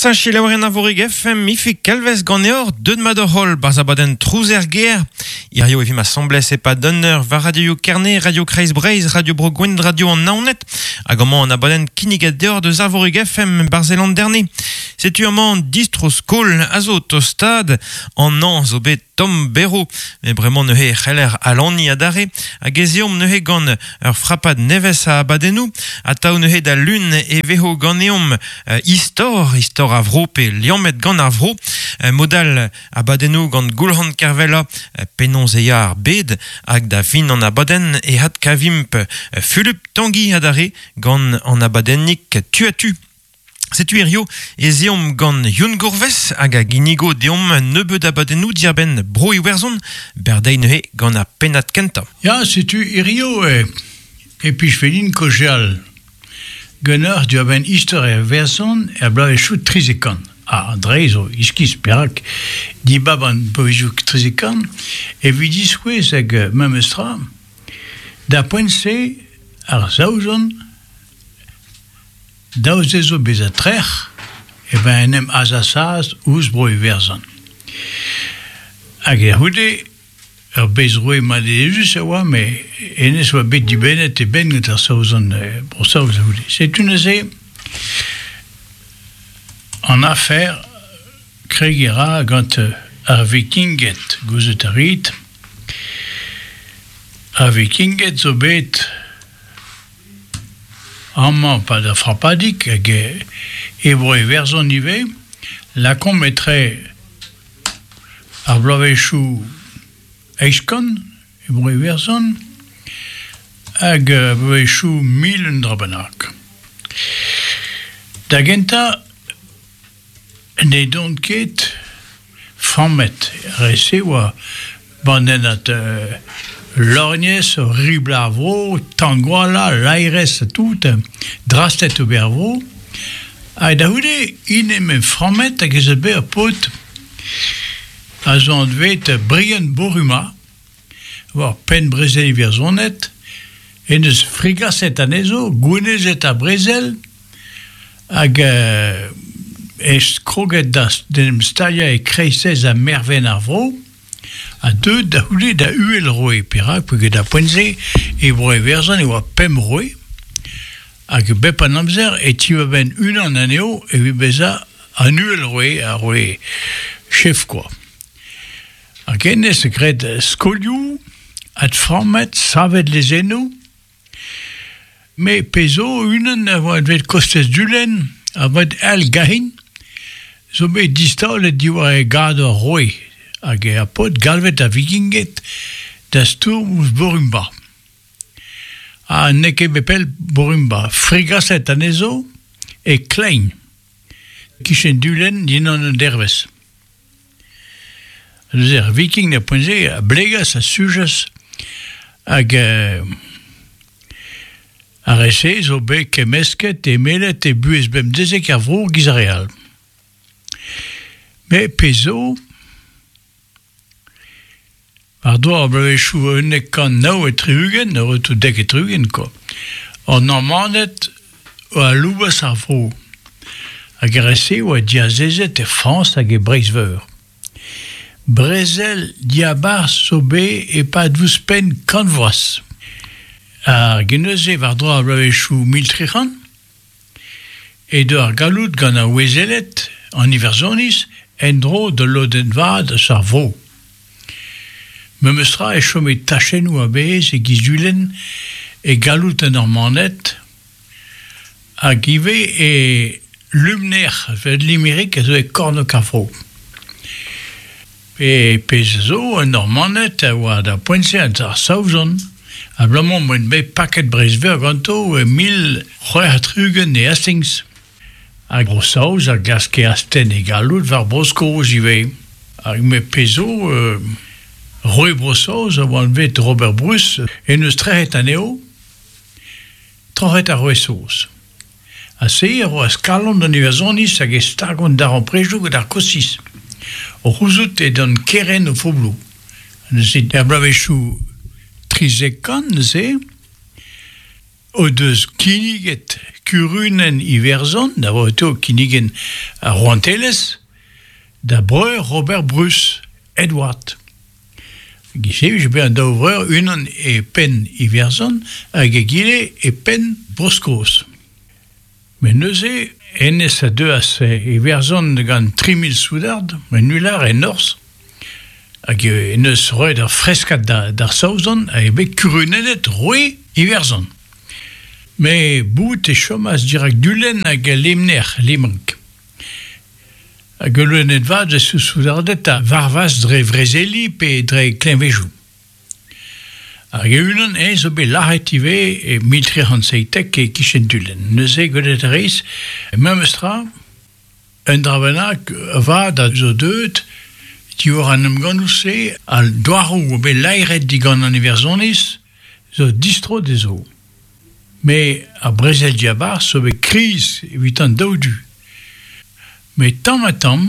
Saint-Chilaouren Arvorig FM, Ifig Kalvez ganeoc'h, deut mat hoc'h holl, barzh abadenn Trouz er gêr. Hirio e vimp asambles e-pad un eur war Radio Kerne, Radio Kreiz Breizh, Radio Bro Gwened, Radio an Naoned, hag amañ an abadenn kinniget deoc'h deus Arvorig FM barzh Landerne. Setu amañ distro-skol a zo tostaat, an hañv zo bet tomm berv, met bremañ neuze e c'heller alaniñ adarre, hag ez eomp neuze gant ur frapad nevez a abadennoù. Atav neuze da lun e vezo ganeomp istor, istor a vro pe liammet gant ar vro. Mod all abadennoù gant Goulc'han Kervella, penaos e ya ar bed, hag da fin an abadenn e adkavimp Fulup Tanguy adarre gant an abadennig Tu à tu. Setu hirio ez eomp gant Youn Gourves hag a ginnigo deomp un nebeud abadennoù diarbenn Bro-Iwerzhon, berdeiñ neuze gant ar pennad kentañ. Ya, setu hirio e, e plijfe din kaozeal ganeoc'h diwar-benn istor Iwerzhon er bloavezhioù 13 kant. Ha dre zo iskis perak dibab an bloavezhioù 13 kant evit diskouez hag memes tra d'ar poent-se ar Saozon Daoust dezho bezañ trec'h e ben en em azasaas ouzh Bro-Iwerzhon. Hag e-c'houde, ur bezroue madelezhus e oa, met hennezh oa bet dibennet e benn gant ar Saozon Bro-Saoz a-c'houde. Setu neuze an afer kregiñ a ra gant ar Vikinged, gouzout a rit. Ar Vikinged zo bet Amañ 'pad ar frapadig hag e Bro-Iwerzhon ivez, lakaomp etre ar bloavezhioù eizh kant e Bro-Iwerzhon hag ar bloavezhioù mil un dra bennak. Da gentañ n'edont ket frammet, re-se oa bandennad lorgnez, ribl ar vro, tangwalañ, laerezh ha tout, drastet ober ar vro. Ha da c'houde int em em frammet hag ez eus bet ur paotr a zo anvet Brian Boruma, war penn brezel Iwerzhoned, en deus frigaset anezho, gounezet ar brezel, Hag ez kroget da d'en em staliañ e kreisteiz ha mervent ar vro, ha deuet da c'houde da Uhelroe. Perak? Peogwir d'ar poent-se e Bro-Iwerzhon e oa pemp roue, hag bep an amzer e tiwabenn unan anezho evit bezañ an Uhelroe, ar roue chef kwa. Hag hennezh graet skolioù, adframmet, savet lezennoù. Met pezh zo unan a oa anvet kostez Dulenn, a-vat Al Gahin, zo bet distaolet diwar e gador roue hag ar paotr galvet da Vikinged da stourm ouzh Borumba. Ha n'eo ket bet pell Borumba, frigaset anezho e Klein, kichen Dulenn dindan un dervezh. Neuze ar Viking d'ar poent-se a blegas, a sujas hag ar re-se zo bet kemmesket, emelet e buhez bemdezek ar vro giz ar re all. Met pezh zo, war-dro ar bloavezhioù 1969, ur retour 70 kwa, an Normaned a aloubas ar vro hag ar re-se oa diazezet e Frañs hag e Breizh-Veur. Brezel diabarzh zo bet e-pad ouzhpenn kant vloaz. Hag neuze war-dro ar bloavezhioù 1300 edo ar galloud gant ar Ouezeled, an Iwerzhoniz, en-dro d'ul lodenn vat eus ar vro. Memes tra e chome tachennoù a-bezh e-giz Dulenn e galloud an Normaned hag ivez e Lumnec'h, evel Limerick a zo e kornôg ar vro. Pe pezh zo, an Normaned a oa d'ar poent-se ar Saozon, abalamour m'oant bet paket Breizh-Veur ganto e 1660 e Hastings. Hag Bro-Saoz a glaske astenn e galloud war Bro-Skos ivez. Hag met pezh zo, roue Bro-Saoz a oa anvet Robert Bruce en deus trec'het anezho, troc'het ar roue saoz. Ha se a roas kalon d'an Iwerzhoniz hag e stagont darempredoù gant ar Skosiz, o c'houzout edan kerent o fobloù. Neuze er bloavezhioù 13 kant neuze, O deus kinniget kurunen Iwerzhon, da vo kinnigen ar rouantelezh, da breur Robert Bruce, Edward. Giz-se bet an daou vreur unan e penn Iwerzhon hag egile e penn Bro-Skos. Met neuze, hennezh a deuas Iwerzhon gant 3 000 soudard, en ular en norzh, hag en deus roet ur freskad d'ar Saozon hag eo bet kurunennet roue Iwerzhon. Met bout e chomas dirak Dulenn hag Lemner, Limerick. Hag ul loened vat eus soudarded a varvas dre vrezeliñ pe dre kleñvedoù. Hag e-unan eñ zo bet lazhet ivez e 1317 e-kichen Dulenn. Neuze gwelet a rez, memes tra, un dra bennak vat a zo deuet diwar an emgannoù-se, al douaroù bet laeret digant an Iwerzhoniz zo distro dezho. Met ar brezel diabarzh zo bet kriz evit an daou du. Met tamm-ha-tamm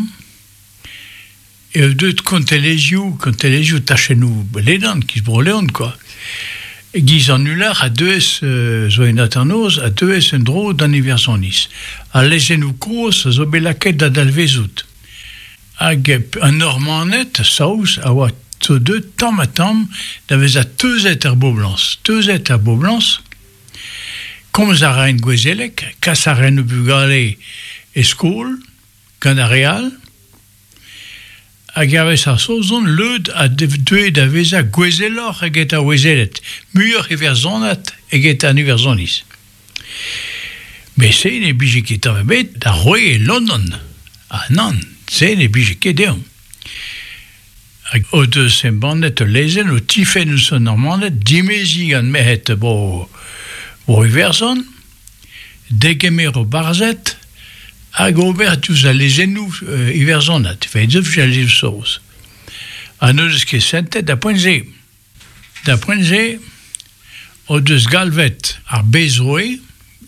eo deuet kontelezhioù, kontelezhioù tachennoù ledan, giz Bro-Leon kwa. E-giz an Ular a deuas zo en hanternoz a deuas en-dro d'an Iwerzhoniz. Al lezennoù kozh a zo bet lakaet da dalvezout. Hag an Normaned saoz a oa zo deuet tamm-ha-tamm da vezañ teuzet er boblañs. Teuzet er boblañs. Komz a raent gouezeleg, kas a raent o bugale e skol gant ar re all, hag hervez ar Saozon, leud a deue da vezañ gouezeloc'h eget ar Ouezeled, muioc'h iwerzhonat eget an Iwerzhoniz. Met se ne blije ket tamm ebet da roue London. Ah nann, se ne blije ket dezhañ. Hag o deus embannet ul lezenn o tifenn ouzh an Normaned dimeziñ gant merc'hed bro Bro-Iwerzhon, degemer o barzhed hag ober diouzh al lezennoù iwerzhonat, evel al lezennoù saoz. Ha n'o deus ket sentet da poent-se. Da poent-se o deus galvet ar bezroue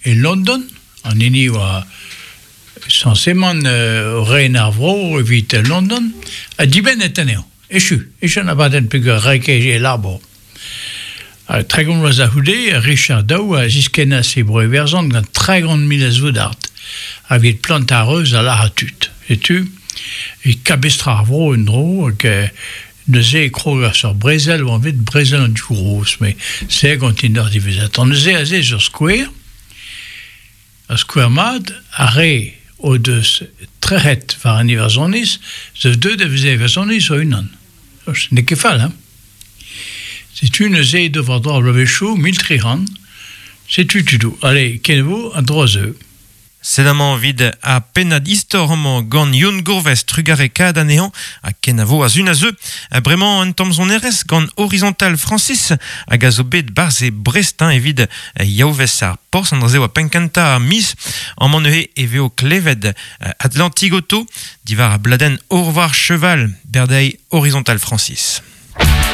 e London, an hini oa sañsemant o ren ar vro evit London, ha dibennet anezhañ. Echu, echu an abadenn peogwir rae ket e labour. Ha 30 vloaz a-c'houde, Richard Daou a ziskennas e Bro-Iwerzhon gant 30 000 a soudard evit plantañ reuz ha lazhañ tud. Setu e kabestrañ ar vro en-dro hag neuze e krogas ur brezel oa anvet brezel an div roz, met se a gontin deoc'h diwezhatoc'h. Neuze aze zo ur skouer, ur skouer mat, ar re o deus trec'het war an Iwerzhoniz zo deuet da vezañ Iwerzhoniz o-unan. N'eo ket fall, hein? Setu neuze edo war-dro ar bloavezhioù 1300. Setu tudoù. Allez, kenavo an dro a zeu. Sed amañ evit ar pennad istor amañ gant Youn Gourvez trugarekaat anezhañ ha kenavo a-zun a zeu. Bremañ un tamm sonerezh gant Horizontal Francis hag a zo bet 'barzh e Brest hein, evit yaouvezh ar porzh an dra-se oa penn-kentañ ar miz. Amañ neuze e vezo klevet Atlantic Auto diwar ar bladenn Au revoir Cheval, berdeiz Horizontal Francis.